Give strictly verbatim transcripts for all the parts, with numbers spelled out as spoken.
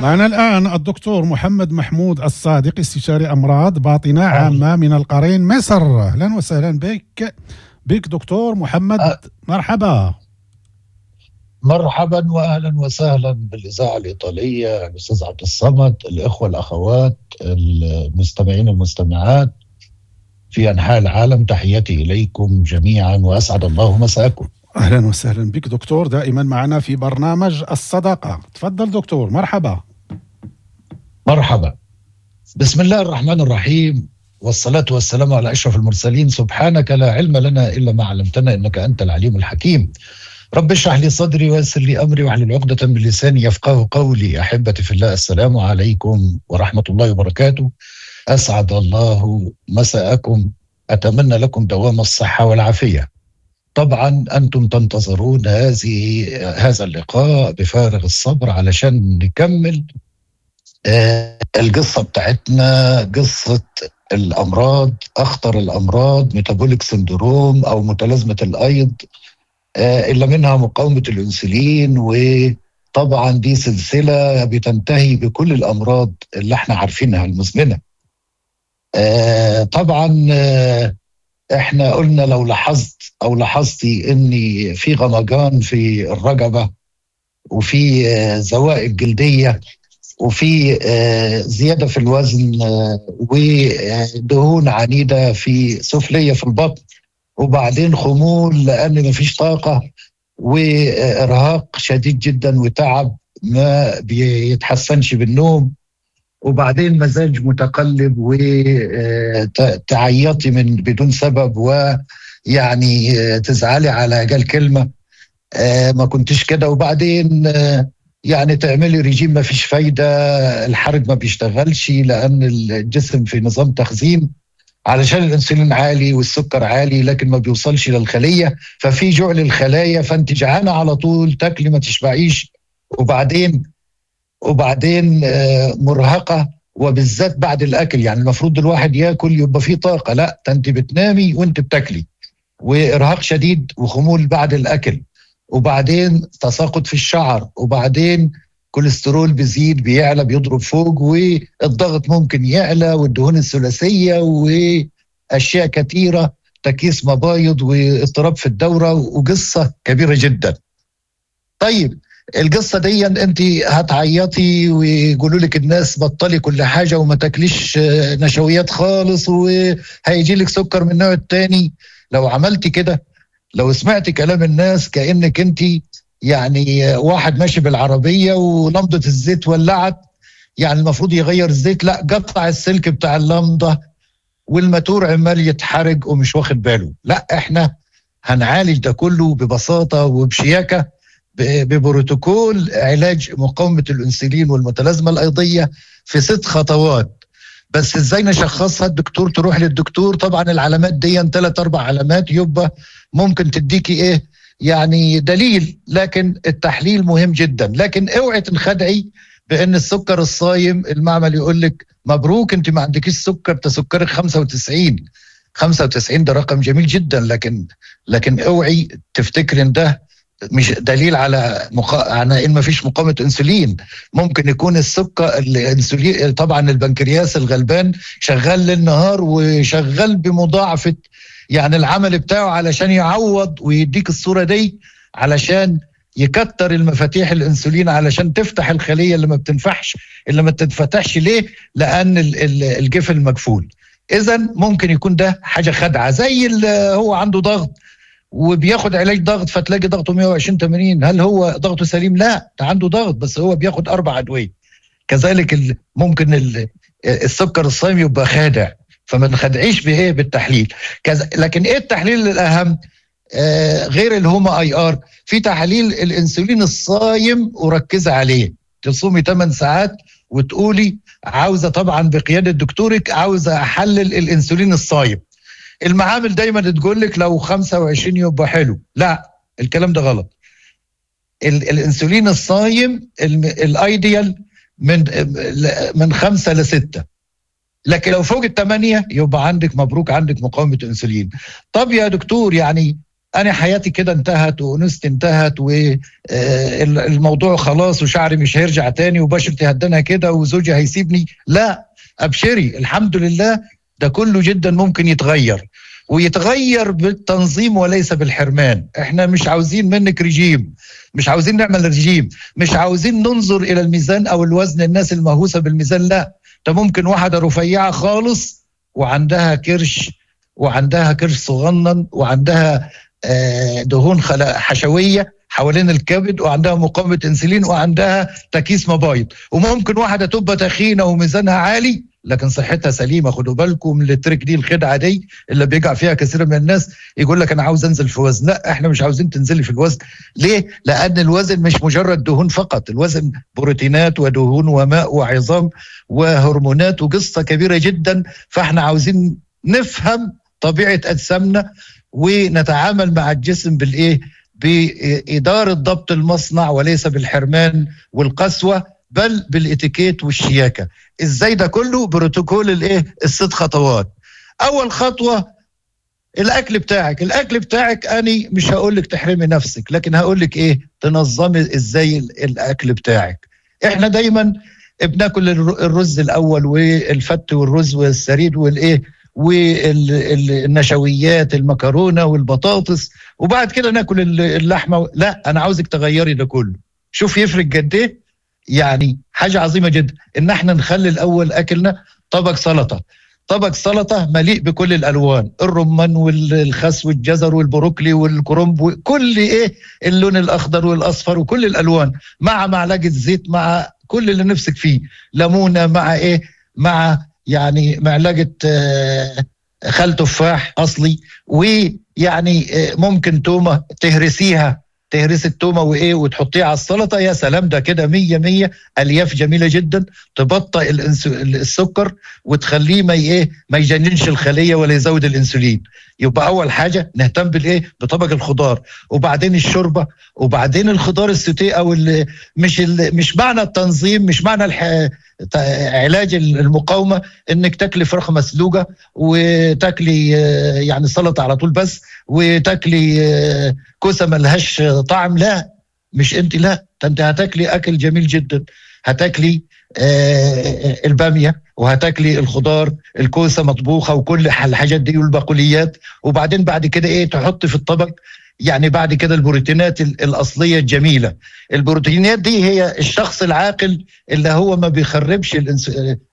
معنا الآن الدكتور محمد محمود الصادق، استشاري أمراض باطنة عامة من القرين مصر. أهلا وسهلا بك بك دكتور محمد. أه. مرحبا. مرحبا واهلا وسهلا بالاذاعه الايطالية، الاستاذ عبد الصمد، الاخوة الاخوات المستمعين المستمعات في انحاء العالم، تحياتي اليكم جميعا واسعد الله مساءكم. أهلا وسهلا بك دكتور، دائما معنا في برنامج الصداقة. تفضل دكتور، مرحبا. مرحبا. بسم الله الرحمن الرحيم، والصلاة والسلام على اشرف المرسلين. سبحانك لا علم لنا الا ما علمتنا انك انت العليم الحكيم. رب اشرح لي صدري ويسر لي امري واحلل عقدة من لساني يفقه قولي. احبتي في الله، السلام عليكم ورحمة الله وبركاته. اسعد الله مساءكم، اتمنى لكم دوام الصحة والعافية. طبعا انتم تنتظرون هذه هذا اللقاء بفارغ الصبر علشان نكمل آه، القصة بتاعتنا، قصة الامراض، اخطر الامراض metabolic syndrome او متلازمة الايض، آه، اللي منها مقاومة الانسولين. وطبعا دي سلسلة بتنتهي بكل الامراض اللي احنا عارفينها المزمنة. آه، طبعا آه، احنا قلنا لو لاحظت او لاحظتي ان في غمجان في الرقبة، وفي آه، زوائد جلدية، وفي آه، زيادة في الوزن، آه، ودهون عنيدة في سفليه في البطن، وبعدين خمول لان مفيش طاقة، وارهاق شديد جدا وتعب ما بيتحسنش بالنوم، وبعدين مزاج متقلب وتعيطي من بدون سبب، ويعني تزعلي على اجل كلمة آه، ما كنتش كده، وبعدين آه، يعني تعملي ريجيم ما فيش فايده، الحرق ما بيشتغلش لان الجسم في نظام تخزين علشان الانسولين عالي والسكر عالي، لكن ما بيوصلش للخليه، ففي جوع للخلايا، فانت جعانة على طول، تاكلي ما تشبعيش، وبعدين وبعدين آه، مرهقة، وبالذات بعد الاكل. يعني المفروض الواحد ياكل يبقى فيه طاقة، لا ده انت بتنامي وانت بتاكلي، وارهاق شديد وخمول بعد الاكل، وبعدين تساقط في الشعر، وبعدين كوليسترول بيزيد بيعلى بيضرب فوق، والضغط ممكن يعلى، والدهون الثلاثية، واشياء كثيرة، تكيس مبايض، واضطراب في الدورة، وقصة كبيرة جدا. طيب القصة دي انت هتعيطي ويقولوا لك الناس بطلي كل حاجة وما تاكليش نشويات خالص وهيجي لك سكر من النوع الثاني. لو عملتي كده، لو سمعتي كلام الناس، كانك انت يعني واحد ماشي بالعربية ولمضه الزيت ولعت، يعني المفروض يغير الزيت، لا قطع السلك بتاع اللمضه والماتور عمال يتحرق ومش واخد باله. لا، احنا هنعالج ده كله ببساطة وبشياكه ببروتوكول علاج مقاومة الانسولين والمتلازمه الايضيه في ست خطوات. بس ازاي نشخصها؟ الدكتور، تروح للدكتور. طبعا العلامات دي ثلاث اربع علامات يبقى ممكن تديكي ايه يعني دليل، لكن التحليل مهم جدا. لكن اوعي تنخدعي بان السكر الصايم المعمل يقول لك مبروك انت ما عندكيش سكر، ده سكرك خمسة وتسعين. خمسة وتسعين ده رقم جميل جدا، لكن لكن اوعي تفتكري ان ده مش دليل على مقا... على ان ما فيش مقاومة انسولين. ممكن يكون السكر الانسولين، طبعا البنكرياس الغلبان شغال للنهار وشغال بمضاعفه يعني العمل بتاعه علشان يعوض ويديك الصورة دي، علشان يكتر المفاتيح الانسولين علشان تفتح الخلية اللي ما بتنفحش، اللي ما بتتفتحش. ليه؟ لان الجفن مقفول. اذا ممكن يكون ده حاجة خدعه، زي اللي هو عنده ضغط وبياخد علاج ضغط فتلاقي ضغطه مية وعشرين تمانين، هل هو ضغطه سليم؟ لا، ده عنده ضغط بس هو بياخد اربع ادوية. كذلك ممكن السكر الصايم يبقى خادع، فما نخدعيش بايه؟ بالتحليل. كذا. لكن ايه التحليل الاهم آه غير ال HOMA-IR؟ في تحاليل الانسولين الصايم، وركزي عليه، تصومي ثمان ساعات وتقولي عاوزه، طبعا بقيادة دكتورك، عاوزه احلل الانسولين الصايم. المعامل دايما تقول لك لو خمسة وعشرين يبقى حلو، لا الكلام ده غلط. الانسولين الصايم ال ideal من من خمسة لستة، لكن لو فوق الثمانية يبقى عندك مبروك، عندك مقاومة انسولين. طب يا دكتور يعني انا حياتي كده انتهت وانوثتي انتهت والموضوع خلاص وشعري مش هيرجع تاني وبشرتي هدنها كده وزوجي هيسيبني. لا، ابشري، الحمد لله ده كله جدا ممكن يتغير، ويتغير بالتنظيم وليس بالحرمان. احنا مش عاوزين منك رجيم، مش عاوزين نعمل رجيم، مش عاوزين ننظر الى الميزان او الوزن، الناس المهووسة بالميزان. لا، ده ممكن واحدة رفيعة خالص وعندها كرش، وعندها كرش صغنن، وعندها دهون حشوية حوالين الكبد، وعندها مقاومة انسولين، وعندها تكيس مبايض. وممكن واحدة تبقى تخينة وميزانها عالي لكن صحتها سليمة. خدوا بالكم من ال trick دي، الخدعة دي اللي بيقع فيها كثير من الناس، يقول لك أنا عاوز أنزل في وزن. لا، احنا مش عاوزين تنزلي في الوزن. ليه؟ لأن الوزن مش مجرد دهون فقط، الوزن بروتينات ودهون وماء وعظام وهرمونات وقصة كبيرة جدا. فاحنا عاوزين نفهم طبيعة أجسامنا ونتعامل مع الجسم بالإيه؟ بإدارة ضبط المصنع وليس بالحرمان والقسوة، بل بالإتيكيت والشياكة. إزاي ده كله؟ بروتوكول الإيه؟ الست خطوات. أول خطوة الأكل بتاعك. الأكل بتاعك أنا مش هقولك تحرمي نفسك، لكن هقولك إيه؟ تنظمي إزاي الأكل بتاعك. إحنا دايما بناكل الرز الأول والفت والرز والسريد والإيه والنشويات، المكرونة والبطاطس، وبعد كده ناكل اللحمة. لا، أنا عاوزك تغيري ده كله. شوف يفرق قد إيه؟ يعني حاجة عظيمة جدا إن احنا نخلي الأول أكلنا طبق سلطة، طبق سلطة مليء بكل الألوان، الرمان والخس والجزر والبروكلي والكرنب وكل إيه اللون الأخضر والأصفر وكل الألوان، مع معلقة زيت، مع كل اللي نفسك فيه، ليمونة، مع إيه، مع يعني معلقة خل تفاح أصلي، ويعني ممكن تومة تهرسيها، تهرس التومة وإيه وتحطيها على السلطة. يا سلام، ده كده مية مية. ألياف جميلة جدا تبطئ السكر وتخليه ما إيه ما يجننش الخلية ولا يزود الإنسولين. يبقى أول حاجة نهتم بالإيه؟ بطبق الخضار، وبعدين الشوربة، وبعدين الخضار السوتيه. أو اللي مش اللي مش معنى التنظيم، مش معنى الح... علاج المقاومة انك تاكلي فراخ مسلوقة وتاكلي يعني سلطة على طول بس، وتاكلي كوسة ملهاش طعم. لا، مش انت، لا، انت هتاكلي اكل جميل جدا، هتاكلي البامية وهتاكلي الخضار، الكوسة مطبوخة وكل الحاجات دي والبقوليات. وبعدين بعد كده ايه تحط في الطبق؟ يعني بعد كده البروتينات الأصلية الجميلة. البروتينات دي هي الشخص العاقل اللي هو ما بيخربش الانس...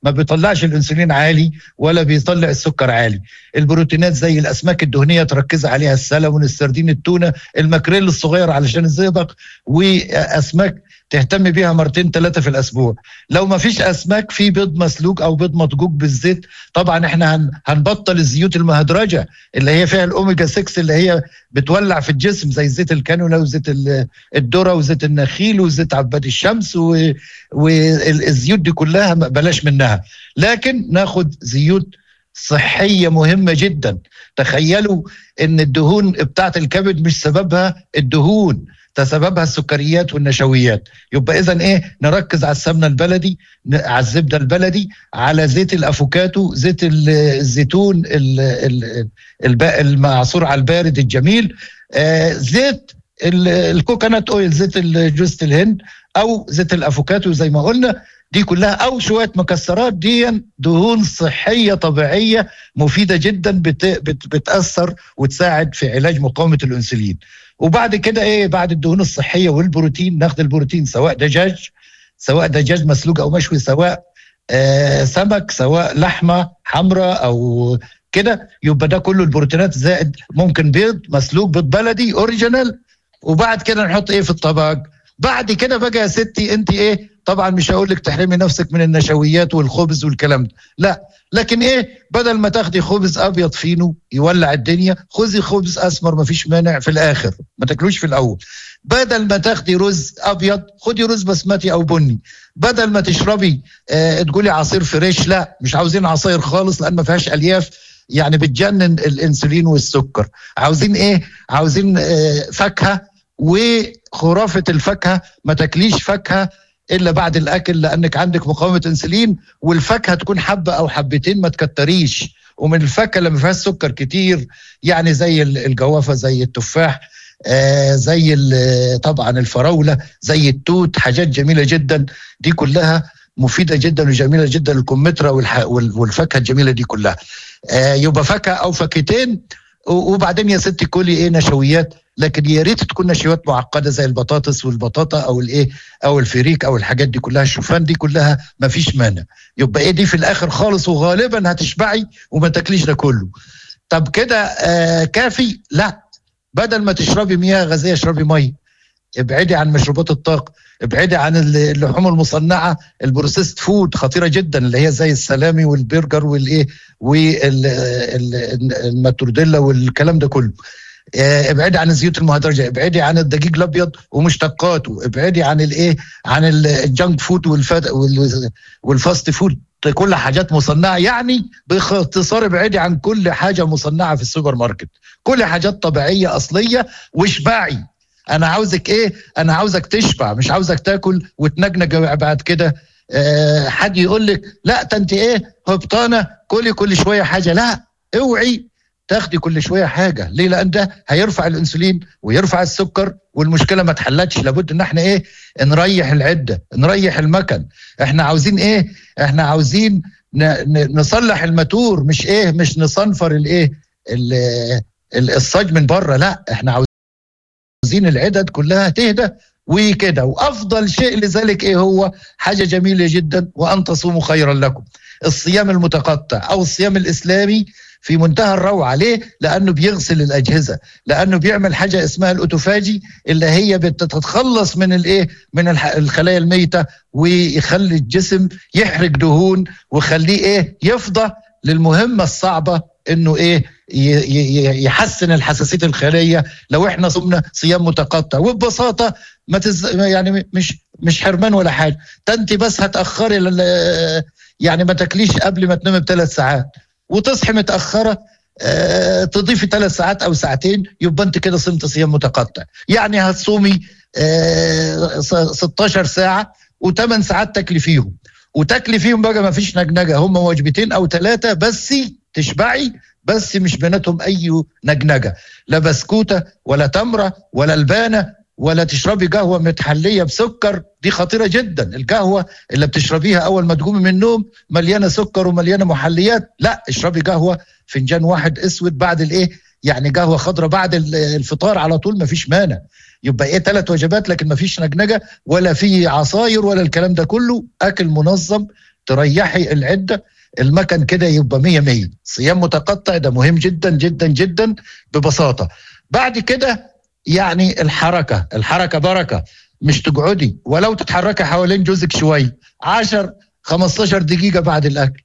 ما بيطلعش الأنسولين عالي ولا بيطلع السكر عالي. البروتينات زي الأسماك الدهنية تركز عليها، السلمون، السردين، التونة، الماكريل الصغير علشان الزئبق، وأسماك تهتم بيها مرتين ثلاثة في الأسبوع. لو ما فيش أسماك، في بيض مسلوق أو بيض مطجوج بالزيت. طبعا احنا هن هنبطل الزيوت المهدرجة اللي هي فيها الأوميجا ستة اللي هي بتولع في الجسم، زي زيت الكانولا وزيت الذرة وزيت النخيل وزيت عباد الشمس والزيوت دي كلها بلاش منها، لكن ناخد زيوت صحية مهمة جدا. تخيلوا ان الدهون بتاعت الكبد مش سببها الدهون، تسببها السكريات والنشويات. يبقى اذا ايه؟ نركز على السمنة البلدي، على الزبدة البلدي، على زيت الافوكاتو، زيت الزيتون المعصور على البارد الجميل، آه زيت ال coconut oil، زيت جوزة الهند او زيت الافوكاتو زي ما قلنا، دي كلها، او شوية مكسرات. دي دهون صحية طبيعية مفيدة جدا، بت بت بتاثر وتساعد في علاج مقاومة الانسولين. وبعد كده ايه؟ بعد الدهون الصحية والبروتين، ناخد البروتين سواء دجاج، سواء دجاج مسلوق او مشوي، سواء آه سمك، سواء لحمه حمراء او كده. يبقى ده كله البروتينات، زائد ممكن بيض مسلوق، بيض بلدي original. وبعد كده نحط ايه في الطبق؟ بعد كده بقى يا ستي انت ايه؟ طبعا مش هقول لك تحرمي نفسك من النشويات والخبز والكلام ده، لا، لكن ايه؟ بدل ما تاخدي خبز ابيض فينو يولع الدنيا، خذي خبز اسمر، مفيش مانع في الاخر، ما تاكلوش في الاول. بدل ما تاخدي رز ابيض، خدي رز بسمتي او بني. بدل ما تشربي اه تقولي عصير fresh، لا، مش عاوزين عصير خالص لان ما فيهاش الياف، يعني بتجنن الانسولين والسكر. عاوزين ايه؟ عاوزين اه فاكهة. وخرافه الفاكهة، ما تاكليش فاكهة الا بعد الاكل لانك عندك مقاومة انسولين، والفاكهه تكون حبه او حبتين، ما تكتريش. ومن الفاكهة اللي ما فيهاش سكر كتير، يعني زي الجوافه، زي التفاح، آه زي طبعا الفراوله، زي التوت، حاجات جميلة جدا، دي كلها مفيدة جدا وجميلة جدا، الكمثرى والفاكهه الجميلة دي كلها. آه يبقى فاكهة او فاكهتين، وبعدين يا ستي كلي ايه نشويات، لكن يا ريت تكون نشويات معقدة زي البطاطس والبطاطا او الايه او الفريك او الحاجات دي كلها، الشوفان دي كلها ما فيش مانع. يبقى ايه دي في الاخر خالص، وغالبا هتشبعي وما تاكليش ده كله. طب كده آه كافي؟ لا، بدل ما تشربي مياه غازية اشربي مية، ابعدي عن مشروبات الطاقة، ابعدي عن اللحوم المصنعة، ال processed food خطيرة جدا، اللي هي زي السلامي والبرجر والايه والماتورديلا والكلام ده كله. ابعدي عن الزيوت المهدرجه، ابعدي عن الدقيق الابيض ومشتقاته، ابعدي عن الايه عن ال junk food وال fast food، كل حاجات مصنعه. يعني باختصار ابعدي عن كل حاجة مصنعه في السوبر ماركت، كل حاجات طبيعية اصلية، واشبعي. انا عاوزك ايه؟ انا عاوزك تشبع، مش عاوزك تاكل وتنجنج بعد كده. أه حد يقول لك لا ده انت ايه هبطانه كلي كل شوية حاجة، لا، اوعي تاخدي كل شوية حاجة. ليه؟ لان ده هيرفع الانسولين ويرفع السكر، والمشكلة ما اتحلتش. لابد ان احنا ايه نريح العدة، نريح المكن. احنا عاوزين ايه؟ احنا عاوزين نصلح الماتور، مش ايه مش نصنفر الايه الصاج من بره، لا، احنا عاوزين العدد كلها تهدى وكده. وافضل شيء لذلك ايه هو؟ حاجة جميلة جدا، وان تصوموا خيرا لكم، الصيام المتقطع او الصيام الاسلامي في منتهى الروعة. ليه؟ لانه بيغسل الاجهزة، لانه بيعمل حاجة اسمها ال autophagy، اللي هي بتتخلص من الايه من الخلايا الميتة، ويخلي الجسم يحرق دهون، ويخليه ايه يفضى للمهمه الصعبة، انه ايه يحسن الحساسية الخلية. لو احنا صمنا صيام متقطع وببساطة ما تز... يعني مش مش حرمان ولا حاجة، انت بس هتاخري ل... يعني ما تاكليش قبل ما تنامي بثلاث ساعات، وتصحي متاخرة، اه تضيفي ثلاث ساعات او ساعتين، يبقى انت كده صمت صيام متقطع. يعني هتصومي اه ستاشر ساعة وثمان ساعات تاكلي فيهم، وتاكلي فيهم بقى ما فيش نجنجه، هم وجبتين او ثلاثة بس تشبعي، بس مش بيناتهم اي نجنجه، لا بسكوته ولا تمره ولا لبانه، ولا تشربي قهوة متحليه بسكر، دي خطيرة جدا. القهوة اللي بتشربيها اول ما تقومي من النوم مليانة سكر ومليانة محليات، لا، اشربي قهوة فنجان واحد اسود بعد الايه يعني قهوة خضراء بعد الفطار على طول، ما فيش مانع. يبقى ايه ثلاث وجبات، لكن ما فيش نجنجه ولا في عصاير ولا الكلام ده كله، اكل منظم، تريحي العدة، المكن كده يبقى مية مية. صيام متقطع ده مهم جدا جدا جدا ببساطة. بعد كده يعني الحركة، الحركة بركة، مش تقعدي ولو تتحركي حوالين جوزك شوية عشر خمستاشر دقيقة بعد الأكل.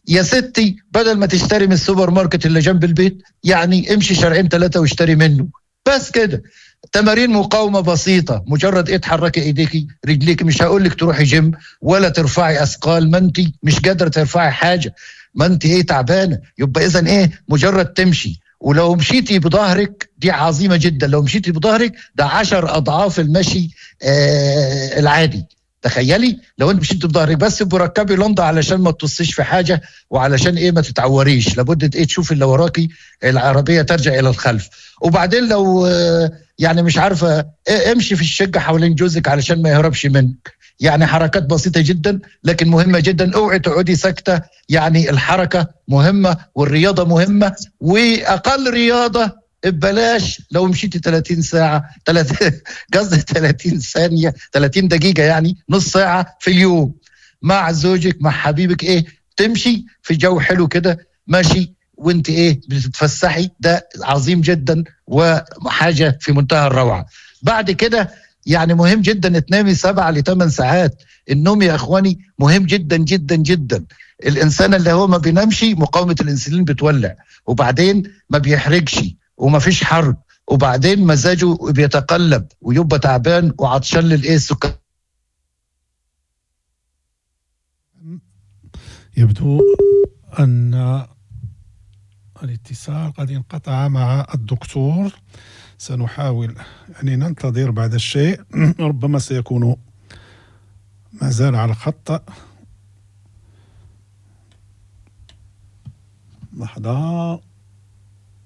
يا ستي بدل ما تشتري من السوبر ماركت اللي جنب البيت، يعني امشي شارعين ثلاثة واشتري منه بس كده. تمارين مقاومة بسيطة، مجرد ايه تحركي ايديكي رجليكي، مش هقولك تروحي جيم ولا ترفعي اثقال، ما انت مش قادرة ترفعي حاجة، ما انت ايه تعبانة، يبقى اذا ايه مجرد تمشي. ولو مشيتي بظهرك دي عظيمة جدا، لو مشيتي بظهرك ده عشر أضعاف المشي آه العادي. تخيلي لو انت مشيتي بظهرك بس، بركبي لندا علشان ما تطصيش في حاجة، وعلشان ايه ما تتعوريش، لابد ايه تشوفي اللي وراكي، العربية ترجع إلى الخلف. وبعدين لو آه يعني مش عارفة إيه امشي في الشقة حوالين جوزك علشان ما يهربش منك. يعني حركات بسيطة جدا لكن مهمة جدا. اوعي تقعدي ساكتة، يعني الحركة مهمة والرياضة مهمة، وأقل رياضة ببلاش لو مشيتي ثلاثين ساعة قصدي ثلاثين ثانية ثلاثين دقيقة، يعني نص ساعة في اليوم مع زوجك مع حبيبك، ايه تمشي في جو حلو كده ماشي وانت ايه بتتفسحي، ده عظيم جدا وحاجة في منتهى الروعة. بعد كده يعني مهم جدا تنامي سبعة لثمان ساعات. النوم يا اخواني مهم جدا جدا جدا. الانسان اللي هو ما بينامش مقاومة الانسولين بتولع، وبعدين ما بيحرجش وما فيش حرب، وبعدين مزاجه بيتقلب ويبقى تعبان وعطشان للايه السكر. يبدو ان الاتصال قد انقطع مع الدكتور، سنحاول يعني ننتظر بعد الشيء، ربما سيكون ما زال على الخط. لحظه.